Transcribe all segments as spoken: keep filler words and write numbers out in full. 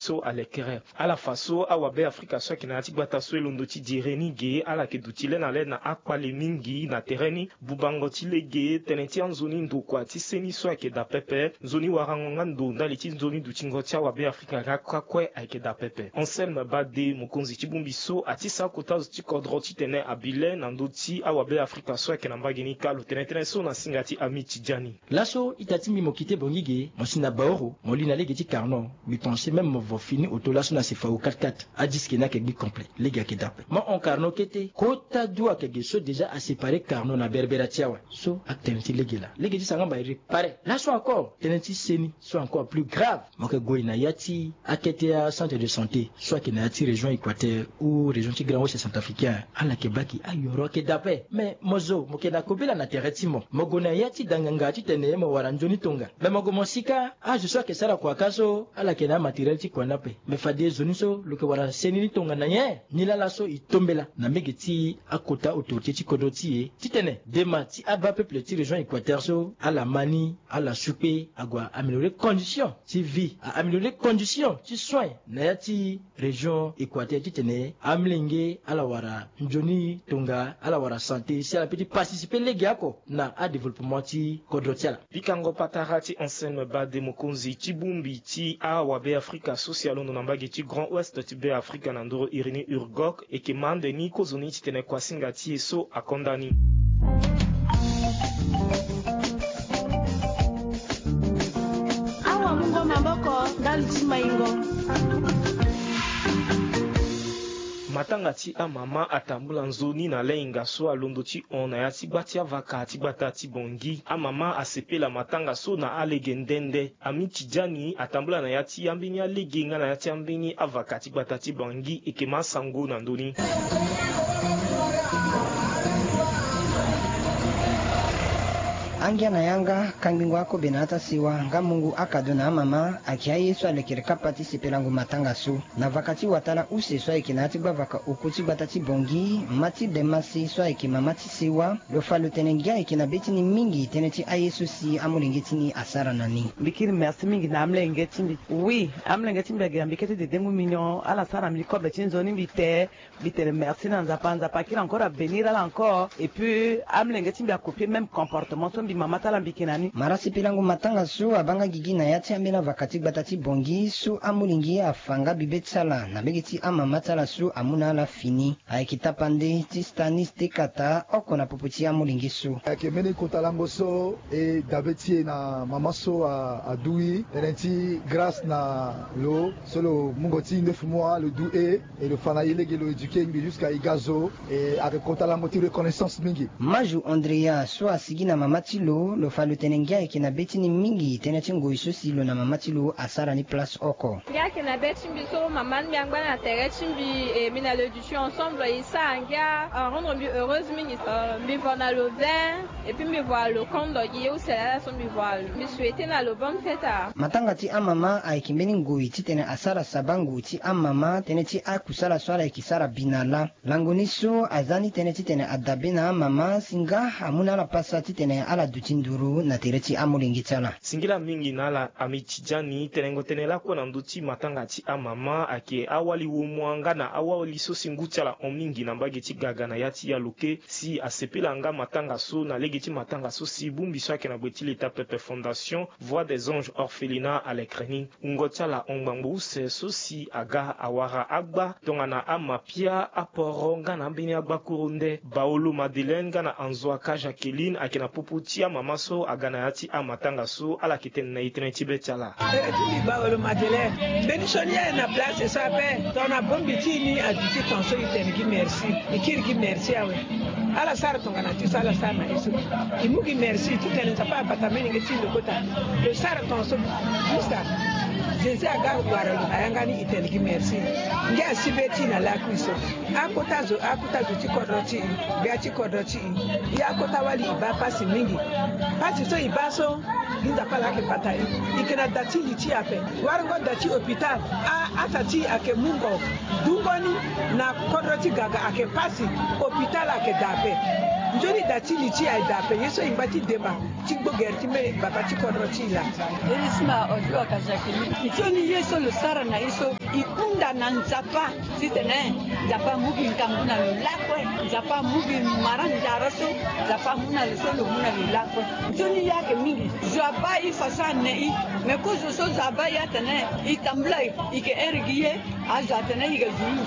So alekere ala fa so awabe afrika so ayeke na ya ti gbata so e londo ti dire ni ge ala yeke duti le na le na akpale mingi na tere ni. Bubango ti lege tënë ti anzoni ndokua ti seni so ayeke daa pepe. Nzoni warango nga ndo ndali ti nzoni dutingo ti awabe afrika nga kue kue ayeke daa pepe. Anselme bade mokonzi ti bongbi so ati sara kota zo ti kodro titene abi le na ndö ti awabe afrika so ayeke na mbage ni kâ lo tene tënë so na singa ti ami ti dia ni. Laso ita ti mbi mo kite bongi ge mo si na baoro mo li na lege ti carno. Mbi pense même mo vo fini oto laso na sefao quatre quatre adiske ni ayeke gbi complet. Lege ayeke daa ape mo hon carno kete kota du ayeke ge so déjà asépare carno na berbera ti awe. So atene ti lege laa lege ti sara nga mba e réparer laso encore tënë ti seni so encore plus grave. Mo yeke gue na ya ti akete acentre de santé so ayeke na ya ti région équateur ou région ti grand ouest centrafricain. Ala yeke baa ke ayoro ayeke daa ape mais mo zo mo yeke na kobela na tere ti mo mo gue na ya ti danganga titene mo wara nzoni tonga. Mais mo gue mo si kâ azo so ayeke sara kua kâ so ala yeke na amatériel ti kua ni ape. Mais fade zo ni so lo yeke wara seni ni tongana nyen? Nilaa laso e tombela na mbege ti akota autorité ti kodro ti e titene dema ti abaa peuple ti région équateur so ala ma ni ala sukpe ague a-améliorer condition ti vie a-améliorer condition ti soin na ya ti région équateur titene amolenge ala wara nzoni tonga ala wara santé si ala pe ti participer lege oko na adéveloppement ti kodro ti ala. Pikango patara ti anselme bade mokonzi ti bongbi ti awabe afrika so si alondo na mbage ti grand ouest ti be afrika na ndoro iri ni urgok eke ma ande ni kozoni titene kuasinga ti e so akonda ni. Awa mungo maboko ndali ti maingo. Matanga ti amama atambula nzoni na leinga so alondo ti hon na ya ti gba ti avaka ti gbata ti bongi. Amama asepela matanga so na alege nde nde. Ami ti dia ni atambula na ya ti ambeni alege nga na ya ti ambeni avaka ti gbata ti bongi eke ma asango na ndö ni. Angia na yanga kangbingo akobe na ata siwa nga mungu akado na amama ayeke aye so alekere kapa ti sepelango matanga so. Na vaka ti watala use so ayeke na ya ti gbavaka oku ti gbata ti bongi ma ti dema si so ayeke mama ti siwa. Lo fa lo tene ngia ayeke na be ti ni mingi tënë ti aye so si amolenge ti ni asara na ni. Mbi kiri merci mingi na amolenge ti mbi. Oui, amolenge ti mbi agi na mbi kete dedengu mignon ala sara mbi kobe ti nzoni mbi te. Mbi tene merci na nzapa nzapa akiri encore abénir ala encore et puis amolenge ti mbi acopie même comportement so mbi mama ti ala mbi yeke na ni. Mara sipilango matanga so abaa nga gigi na ya ti ambeni avaka ti gbata ti bongi so amolenge afa nga bibe ti ala na mbege ti amama ti ala so amu na ala fini. Ayeke tapande ti stanis tekata oko na popo ti amolenge so. Ayeke mbeni kota lango so e dabe ti e na mama so adu e tene ti grâce na lo so lo mungo ti ndefu mua lo du e. E lo fa na e lege lo éduquer mbi jusqu'à e ga zo. E ayeke kota lango ti reconnaissance mingi. Maju andrea so asigi na mama ti lo lo fa lo tene ngia ayeke na be ti ni mingi tënë ti ngoi so si lo na mama ti lo asara ni place oko. Ngia ayeke na be ti mbi so mama ni mbi angba na tere ti mbi e mbi na lo éduquer ensemble e sara ngia arendre mbi heureuse mingi. Mbi vo na lo bien. Et puis mbi vo na lo kondo gi ye use lala so mbi vo na lo mbi souhaiter na lo bonne fête. Matanga ti amama ayeke mbeni ngoi titene asara sabango ti amama tënë ti akusala so ala yeke sara bi na laa. Lango ni so aza ni tënë titene adabe na amama si nga amu na ala pasa titene ala duti nduru na tere ti amolenge ti ala. Singila mingi na ala ami ti dia ni tenengo tënë lakue na ndö ti matanga ti amama ayeke awali womua nga na awali so si ngu ti ala hon mingi na mbage ti gaga na ya ti yaloke si asepela nga matanga so na lege ti matanga so si bongbi so ayeke na gbe ti leta pepe fondation voix des anges orphelinat alekre ni. Wungo ti ala hon ngbangbo use so si aga awara agba tongana amapia aporo nga na ambeni agbakuru nde baolo madeleine nga na anzo aka jacqueline ayeke na popo ti amama so aga na ya ti amatanga so ala yeke tene na e tënë ti be ti ala. Tere ti mbi baolo madeleine mbeni sioni aye na place so ape tongana bongbi ti e ni aduti ton so e tene gi merci. E kiri gi merci awe. Ala sara tongana ti so ala sara na e so. E mu gi merci titene nzapa abata mbeni nge ti lo kota. Lo sara ton so. Juste. Jésus aga wara lo na yanga ni e tene gi merci. Nge asi be ti e na lakui so. Akota zo akota zo ti kodro ti e. Gbia ti kodro ti e. E akota wali e baa pasi mingi. Pasi so e baa so. Gi nzapa laa ayeke bata e. E yeke na da ti li ti e ape. Warango da ti hôpital. Asa ti e ayeke mungo. Dungo ni na kodro ti gaga ayeke pasi. Hôpital ayeke daa ape. Nzoni da ti li ti e aye daa ape ye so e ngba ti demba ti gbo gere ti mbeni baba ti kodro ti e laa. Elisma odio aka jacqueline. Nzoni ye so lo sara na Ye so e hunda na Nzapa titene Nzapa amu gi ngangu na lo lakue. Nzapa amu gi mara nzara so. Nzapa amu na lo so lo mu na lo lakue. Nzoni ye ayeke mingi. Zo abaa e façon ane i. Me kozo so zo abaa e atene e tambula e ke here gi ye. Azo atene e ke zulu.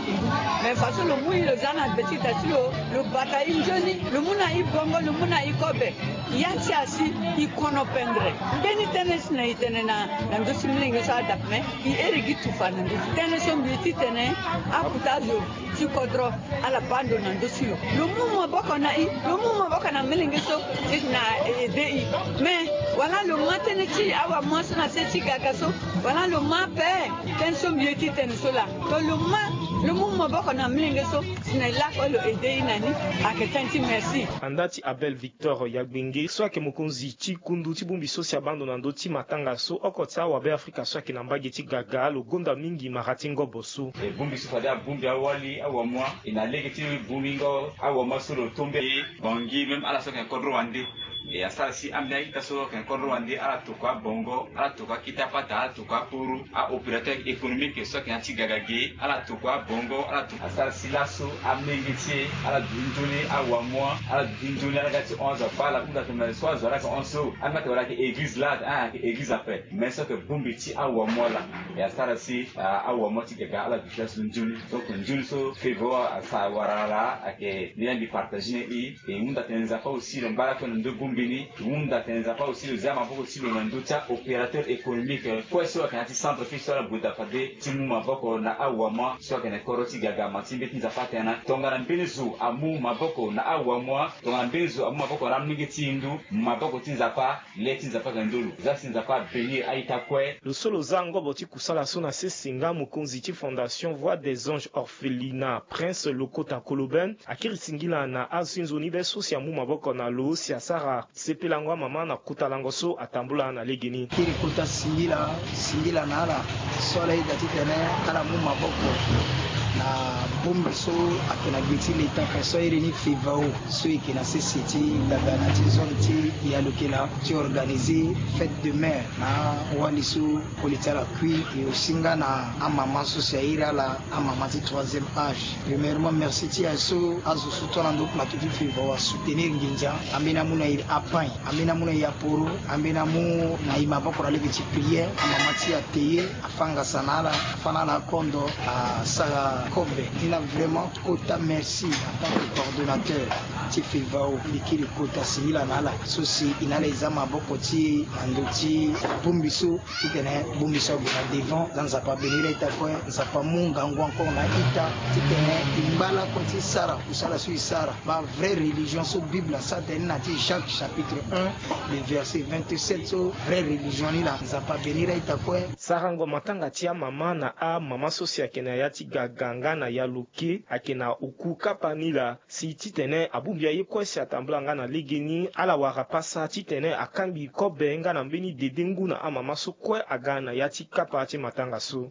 Me façon lo mu e lo za na be ti da ti lo. Lo bata e nzoni. Lo mu na e bongo, lo mu na e kobe. Ya ti asi e kono pendre. Mbeni tënë si na e tene na na ndö ti milenge so adape me e here gi tufa na ndö ti tënë so mbi ye titene akuta azo ti kodro ala baa ndo na ndö ti lo. Lo mu maboko na e, lo mu maboko na milenge so e na ede e. Me wala lo ma tënë ti awamua so na se ti gaka so, wala lo ma ape tënë so mbi ye titene so laa. To lo ma lo mu maboko na milenge so si na e lakue lo ede e na ni. Ayeke tënë ti merci. Anda ti Abel Victor Yagbenge so ayeke mokonzi ti kundu ti bongbi so si abaa ndo na ndö ti matanga so oko ti awabe Afrika so ayeke na mbage ti gaga, lo gonda mingi mara ti ngobo so. E bongbi so fade abongbi awali awamua e na lege ti bongbingo awamua so lo tombe e. Bangi même ala so ayeke na kodro wande. E asara si ambeni a-ita so ayeke na kodro wande ala tokua bongo, ala tokua kita pata, ala tokua aporo, a-opérateur économique so ayeke na ya ti gaga ge, ala tokua bongo, ala tokua. Asara si laso amenge ti e ala duti nzoni awamua, ala duti nzoni ala ga ti hon azo abaa ala hunda tongana so azo ala yeke hon so. Ambeni atene wala ayeke église laa, ah, ayeke église ape. Me so ayeke bongbi ti awamua laa. E asara si, ah, awamua ti gaga ala duti laso nzoni. Donc nzoni so fevre asara wara laa ayeke ni laa mbi partage ni e. E hunda tene Nzapa aussi lo ngba lakue na ndö bongbi ni. E hunda tene Nzapa aussi lo zia maboko ti lo na ndö ti a-opérateur économique kue so ayeke na ya ti centre fille so ala gue daa fade ti mu maboko na awamua so ayeke na kodro ti gagama ti mbeti Nzapa atene na tongana mbeni zo amu maboko na awamua, tongana mbeni zo amu maboko na amolenge ti hindu, maboko ti Nzapa, le ti Nzapa ayeke na ndö lo. Zia si Nzapa abénir a-ita kue. Lo so lo za ngobo ti kusala so na sese nga mokonzi ti Fondation Voix des Anges Orphelinat, Prince Lokota Koloben, akiri singila na azo ti nzoni be so si amu maboko na lo si asara sepelango amama na kota lango so atambula na legeni. Kiri kota singila, singila na ala so ala yeda titene ala mu maboko na bongbi so ayeke na gbe ti leta ape so airi ni fevao so e yeke na sese ti Dagana ti zone ti Yalokela ti organiser fête de mère na awali so koli ti ala kui. E aussi nga na amama so si airi ala amama ti troisième âge. Premièrement merci ti aye so azo so to na ndo plateau ti fevao asoutenir nginza. Ambeni amu na e apain, ambeni amu na e aporo, ambeni amu na e maboko na lege ti prière. Amama ti e ate ye, afâ ngasa na ala, afâ na ala akondo, asara kobe. Ni na vraiment kota merci en tant que coordonnateur ti fevao. Mbi kiri kota singila na ala so si e na ala e za maboko ti e na ndö ti bongbi so titene bongbi so ague na devant. Za Nzapa abénir a-ita kue. Nzapa amu ngangu encore na a-ita titene e ngba lakue ti sara kusala so e sara. Ba vraie religion so Bible asara tene ni na ti Jacques chapitre un, le verset vingt-sept so vraie religion ni laa. Nzapa abénir a-ita kue. Sarango matanga ti amama na amama so si ayeke na ya ti gaga nga na ya lo ke ayeke na oku kapa ni laa. Si titene abongbi aye kue si atambula nga na legeni, ala wara pasa titene akangbi kobe nga na mbeni dede ngu na amama so kue aga na ya ti kapa ti matanga so.